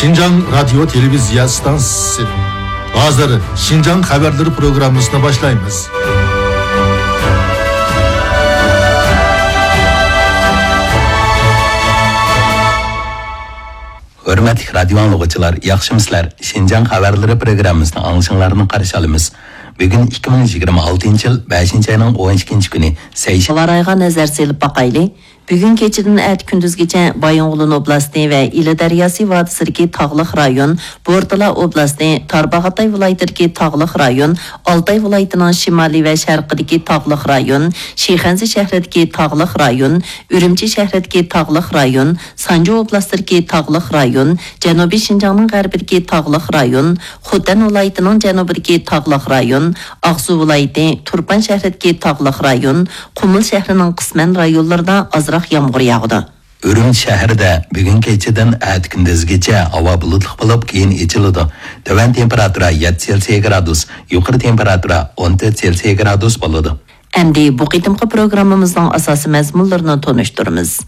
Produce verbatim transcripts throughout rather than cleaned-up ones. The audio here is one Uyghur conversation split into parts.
شىنجاڭ رادىيو تېلېۋىزىيە ئىستانسىسى. ھازىر شىنجاڭ خەۋەرلىرى پروگراممىسىنى باشلايمىز. ھۆرمەتلىك رادىيو ئاڭلىغۇچىلار، ياخشىمۇسىلەر؟ شىنجاڭ خەۋەرلىرى پروگراممىسىنىڭ ئاڭلىشىڭلارنى قارشى ئالىمىز. بۈگۈن ئىككى مىڭ يىگىرمە ئالتىنچى يىل بەشىنچى ئاينىڭ ئون ئىككىنچى كۈنى، سەيشەنبە. ھاۋا رايىغا نەزەر سېلىپ باقايلى. بۈگۈن كېچىدىن ئەتە كۈندۈزگىچە بايىنغولىن ئوبلاستى ۋە ئىلى دەرياسى ۋادىسىدىكى تاغلىق رايون، بورتالا ئوبلاستى، تارباغاتاي ۋىلايىتىدىكى تاغلىق رايون، ئالتاي ۋىلايىتىنىڭ شىمالىي ۋە شەرقىدىكى تاغلىق رايون، شىخەنزە شەھىرىدىكى تاغلىق رايون، ئۈرۈمچى شەھىرىدىكى تاغلىق رايون، سانجى ئوبلاستىدىكى تاغلىق رايون، جەنۇبىي شىنجاڭنىڭ غەربىدىكى تاغلىق رايون، خوتەن ۋىلايىتىنىڭ جەنۇبىدىكى تاغلىق رايون، ئاقسۇ ۋىلايىتى، تۇرپان شەھىرىدىكى تاغلىق رايون، قۇمۇل شەھىرىنىڭ قىسمەن رايونلىرىدا ئازراق يامغۇر ياغىدۇ. ئۈرۈمچى شەھىرىدە بۈگۈن كېچىدىن ئەتە كۈندۈزگىچە ھاۋا بۇلۇتلۇق بولۇپ، كېيىن ئېچىلىدۇ. تۆۋەن تېمپېراتۇرا يەتتە سېلسىيە گرادۇس، يۇقىرى تېمپېراتۇرا ئون تۆت سېلسىيە گرادۇس بولىدۇ. ئەمدى بۇ قېتىمقى پروگراممىمىزنىڭ ئاساسىي مەزمۇنلىرىنى تونۇشتۇرىمىز.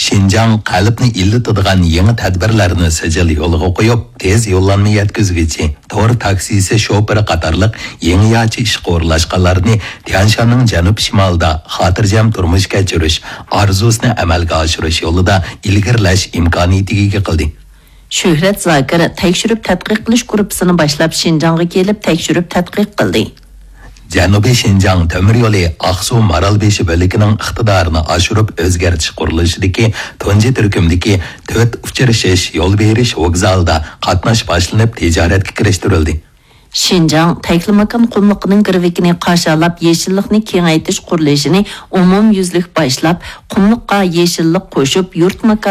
شىنجاڭ قەلبنى ئىللىتىدىغان يېڭى تەدبىرلەرنى سىجىل يولغا قويۇپ، تېز يوللانما يەتكۈزگۈچى، تور تاكسىسى شوپۇرى قاتارلىق يېڭىچە ئىشقا ئورۇنلاشقانلارنى تيەنشاننىڭ جەنۇب-شىمالىدا خاتىرجەم تۇرمۇش كەچۈرۈش ئارزۇسىنى ئەمەلگە ئاشۇرۇش يولىدا ئىلگىرىلەش ئىمكانىيىتىگە ئىگە قىلدى. شۆھرەت زاكىر تەكشۈرۈپ تەتقىق قىلىش گۇرۇپپىسىنى باشلاپ، شىنجاڭغا كېلىپ تەكشۈرۈپ تەتقىق قىلدى. جەنۇبىي شىنجاڭ تۆمۈر يولى ئاقسۇ مارالبېشى بۆلىكىنىڭ ئىقتىدارىنى ئاشۇرۇپ ئۆزگەرتىش قۇرۇلۇشىدىكى تۇنجى تۈركۈمدىكى تۆت ئۇچرىشىش يول بېرىش ۋوگزالىدا قاتناش باشلىنىپ تىجارەتكە كىرىشتۈرۈلدى. شىنجاڭ تەكلىماكان قۇملۇقىنىڭ گىرۋىكىنى قاشالاپ، يېشىللىقنى كېڭەيتىش قۇرۇلۇشىنى ئومۇميۈزلۈك باشلاپ، قۇملۇققا يېشىللىق قوشۇپ، يۇرت ماكان